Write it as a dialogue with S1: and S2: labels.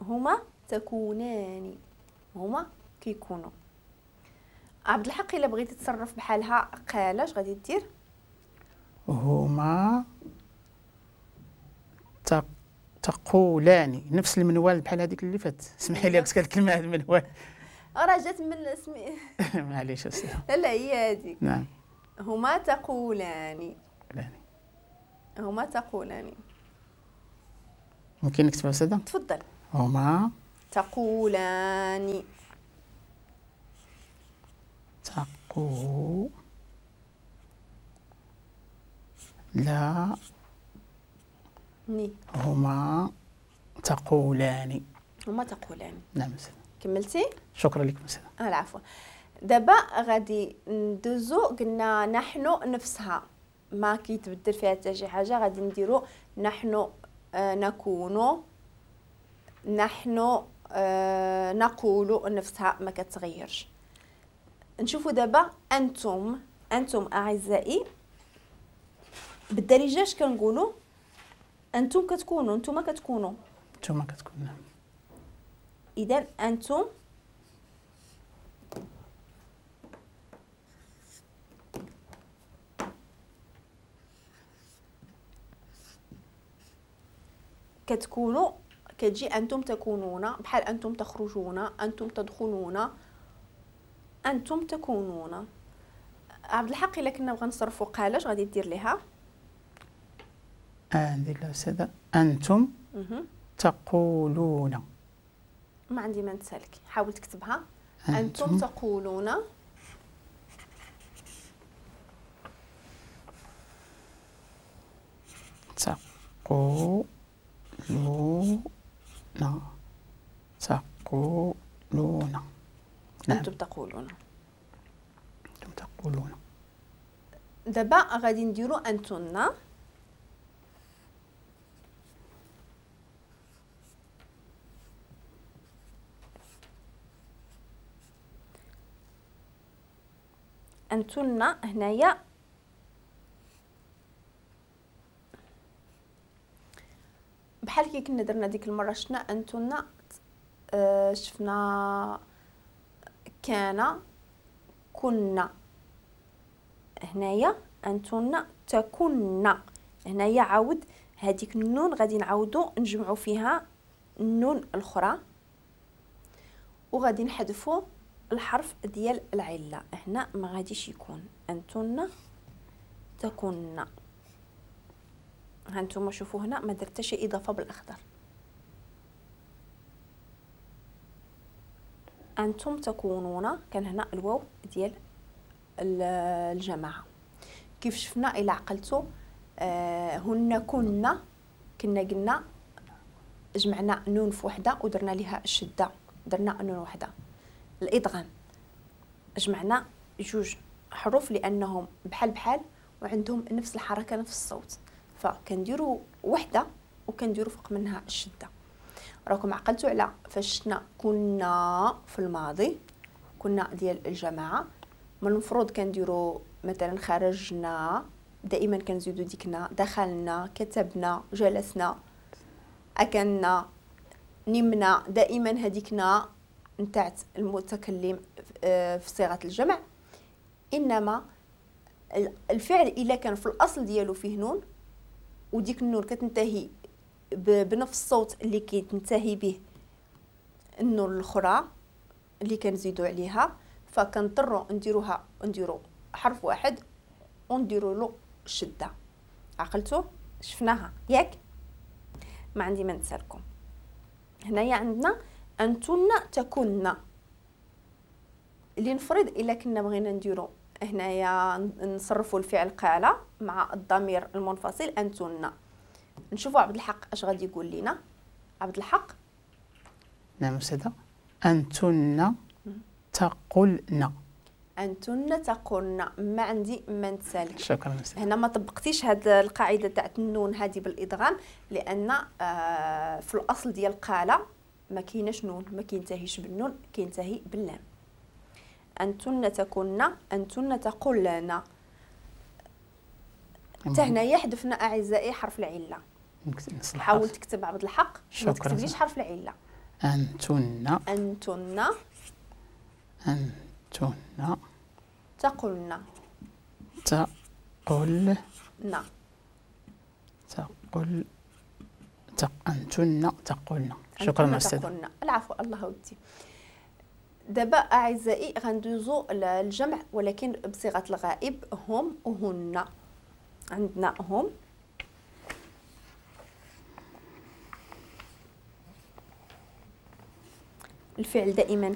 S1: هما تكونان، هما كيكونوا. عبد الحق الا بغيتي تصرف بحالها قال اش غادي دير؟
S2: هما تقولان، نفس المنوال بحال هذيك اللي فات. اسمحي لي قلت الكلمة هذا المنوال
S1: راه جات من اسمي
S2: معليش أستاذ.
S1: لا هي هذيك.
S2: نعم،
S1: هما تقولان، هما تقولان.
S2: ممكن نكتبها أستاذة؟
S1: تفضل.
S2: هما
S1: تقولان،
S2: تقو لا
S1: ني،
S2: هما تقولان،
S1: هما تقولان.
S2: نعم أستاذ.
S1: كملتي؟
S2: شكرا لكم أستاذ.
S1: العفو. دابا غادي ندوزو، قلنا نحن نفسها ما كيتبدل فيها حتى شي حاجة، غادي نديرو نحن نكون، نحن نقول، نفسها ما كتغيرش. نشوفوا دابا انتم، انتم اعزائي بالدارجة اش كنقولوا؟ انتم كتكونوا، انتم كتكونوا،
S2: انتم كتكونوا. نعم.
S1: اذا انتم كتكونوا، كتجي انتم تكونون، بحال انتم تخرجون، انتم تدخلون، انتم تكونون. عبد الحق الا كنا بغا نصرفوا قال اش غادي دير ليها؟
S2: ندير لها أستاذة انتم تقولون.
S1: ما عندي ما نسالك، حاول تكتبها. انتم تقولون،
S2: تقولون، تقولون. نعم.
S1: انتم تقولون،
S2: انتم تقولون.
S1: دابا غادي نديرو انتن. انتن هنايا بحال كي كنا درنا ديك المرة، شفنا انتن، شفنا كان، كنا. هنايا انتن تكن، هنايا عاود هذيك النون غادي نعاودو نجمعو فيها النون الاخرى وغادي نحذفو الحرف ديال العلة. هنا ما غاديش يكون انتن تكن. هانتوما شوفوا هنا ما درت شي اضافه بالاخضر. انتم تكونون، كان هنا الواو ديال الجماعة. كيف شفنا الى عقلتو هن كنا، كنا قلنا جمعنا نون في وحده ودرنا ليها الشدة، درنا نون وحده. الادغام جمعنا جوج حروف لانهم بحال بحال وعندهم نفس الحركة نفس الصوت، فكنديروا وحده وكنديروا فوق منها الشدة. راكم عقلتوا على فاش شفنا كنا في الماضي، كنا ديال الجماعة، من المفروض كنديروا مثلا خرجنا، دائما كنزيدوا ديكنا، دخلنا، كتبنا، جلسنا، اكلنا، نمنا، دائما هذيكنا نتاعت المتكلم في صيغة الجمع. انما الفعل الا كان في الاصل ديالو فيه نون وديك النون كتنتهي بنفس الصوت اللي كيتنتهي به النون الاخرى اللي كنزيدو عليها، فكنضطروا نديروها، نديرو حرف واحد ونديروا له الشدة. عقلتو؟ شفناها ياك؟ ما عندي ما نسالكم. هنايا عندنا انتن تكن. اللي نفرض الا كنا بغينا نديرو هنايا نصرفوا الفعل قال مع الضمير المنفصل انتن. نشوفوا عبد الحق اش غادي يقول لنا. عبد الحق.
S2: نعم أستاذة. انتن تقولن.
S1: انتن تقولن. ما عندي ما نتسالك.
S2: شكرا أستاذة.
S1: هنا ما طبقتيش هاد القاعدة تاع النون هذه بالادغام، لان في الاصل ديال قال ما كايناش نون، ما كينتهيش بالنون، كينتهي باللام. انتن تكن، انتن تقولن. حتى هنايا حذفنا اعزائي حرف العلة. حاول تكتب عبد الحق، ما تكتبليش حرف العلة.
S2: أنتن.
S1: أنتن.
S2: أنتن.
S1: تقلن.
S2: تقل.
S1: نا.
S2: تقل. أنتن تقلن. شكرا أستاذ.
S1: العفو، الله ودي. دابا أعزائي غندوزو الجمع ولكن بصيغة الغائب، هم وهن. عندنا هم، الفعل دائما